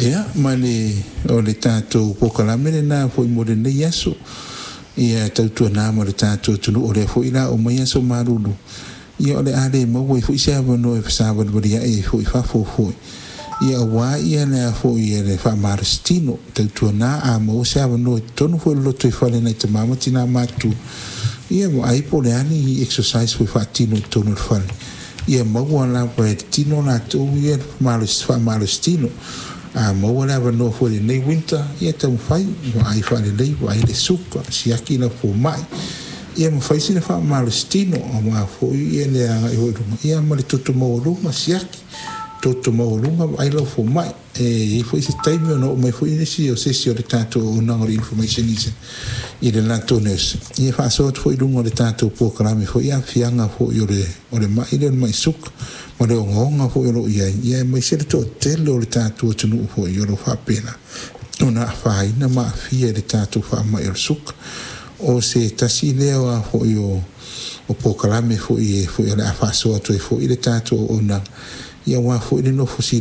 Ia, ma le o le tatou polokalame lena foi mo lenei aso. Ia tautuana ma le tatou atunuu, o lea foi la o mai aso malulu, ia o le a le maua ai foi se avanoa e fesavalivali ai foi i fafo foi. Ia auā ia le foi e le faamalositino, tautuana a maua se avanoa i totonu foi o le lotoifale nai tamā ma tinā matutua, ia vaai po o le a ni exercise foi faatino i totonu o le fale, ia maua lava e le tino latou ia faamalositino. A maua le avanoa foi i lenei winter, ia taumafai, vaai faalelei, vaai le suka, siaki lau fomai, ia ma fai sina faamalositino aua foi ia le agai foi i luma, ia ma le toto maualuga, siaki, toto maualuga, vaai lau fomai. E i ai foi se taimi ona oo mai foi nisi o se isi o le tatou auaunaga o le information i le latou nurse, ia faasoa atu foi i luga o le tatou polokalame foi aafiaga foi o le mai lea o le mai suka ma le ogaoga foi o lo o i ai, ia aemaise le toatele o le tatou atunuu foi o lo o faapena ona afaina ma aafia i le tatou faamai o le suka. O se tasi lea o foi o polokalame foi e foi o le a faasoa atu ai foi le tatou auaunaga, ia aua foi le nofo.